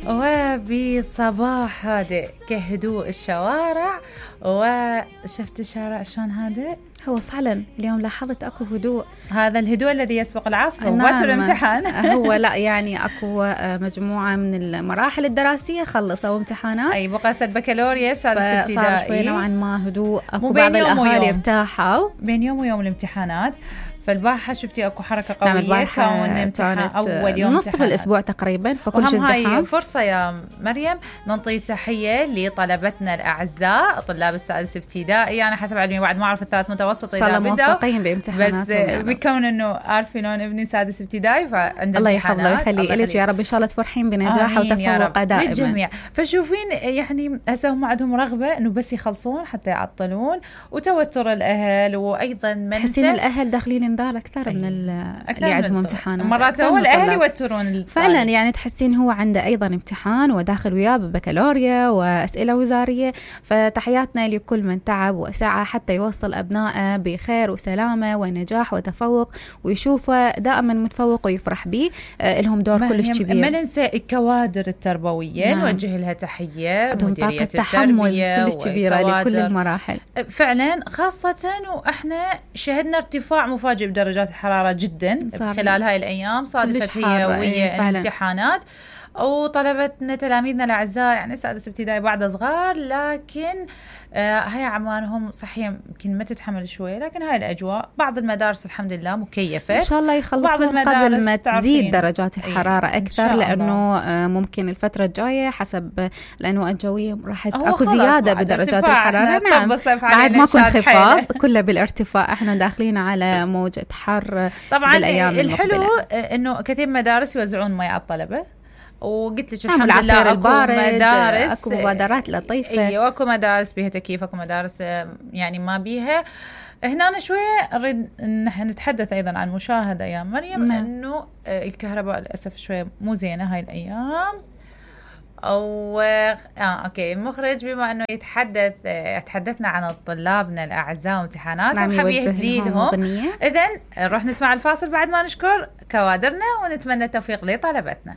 وبصباح هادئ كهدوء الشوارع. وشفت الشارع شلون هادئ؟ هو فعلا اليوم لاحظت اكو هدوء، هذا الهدوء الذي يسبق العاصفة وباكر الامتحان. هو لا يعني اكو مجموعة من المراحل الدراسية خلصوا امتحانات، اي بقى البكالوريوس سادس ابتدائي، صار شوي نوعا ما هدوء، اكو بعض الاهالي ارتاحوا بين يوم ويوم الامتحانات. فالبارحة شفتي اكو حركة قوية، كون امتحان اول يوم نصف الاسبوع تقريبا، فكل شيء ازدحام. هاي فرصة يا مريم ننطي تحية لطلبتنا الاعزاء طلاب السادس ابتدائي. انا حسب علمي بعد ما اعرف الثالث متوسط اذا بدأوا موفقين بامتحانات، بس بكون انه عارفين ان ابني سادس ابتدائي فعنده الله يحفظه ويخليه لك يا رب، ان شاء الله تفرحين بنجاح وتفوق دائما للجميع. فشوفين يعني هسه هم عندهم رغبة انه بس يخلصون حتى يعطلون، وتوتر الاهل، وايضا تحسين الاهل داخلين انذار اكثر من اللي عندهم امتحانات. مرات هو الاهل يوترون فعلا، يعني تحسين هو عنده ايضا امتحان وداخل وياه ببكالوريا واسئله وزاريه. فتحياتنا لكل من تعب وسعى حتى يوصل ابنائه بخير وسلامه ونجاح وتفوق، ويشوفه دائما متفوق ويفرح به. لهم دور كلش كبير. ما ننسى الكوادر التربويه، نوجه لها تحيه، مديريه التربيه كلش كبيره لكل المراحل فعلا، خاصه واحنا شهدنا ارتفاع مفاجئ بدرجات الحراره جدا خلال هاي الايام، صادفت هي ويا الامتحانات. وطلبتنا تلاميذنا الاعزاء يعني سادس ابتدائي بعد صغار، لكن هاي اعمارهم صحيح يمكن ما تتحمل شويه، لكن هاي الاجواء بعض المدارس الحمد لله مكيفه، ان شاء الله يخلصون قبل ما تزيد درجات الحراره اكثر، لانه ممكن الفتره الجايه حسب الانواع الجويه راح اكو زياده بدرجات الحراره. نعم، بعد ماكو انخفاض، كله بالارتفاع. احنا داخلين على موجه حر طبعا. الحلو انه كثير مدارس يوزعون مي على الطلبه، وقلت لك الحمد لله اكو مدارس، اكو مبادرات لطيفه، ايوه اكو مدارس بيها تكييف، اكو مدارس يعني ما بيها. هنا أنا شويه نريد نتحدث ايضا عن مشاهده يا مريم، انه الكهرباء للاسف شويه مو زينه هاي الايام. اوكي المخرج بما انه تحدثنا عن طلابنا الاعزاء وامتحاناتهم، حاب يهدي لهم. اذا نروح نسمع الفاصل بعد ما نشكر كوادرنا ونتمنى التوفيق لطلبتنا.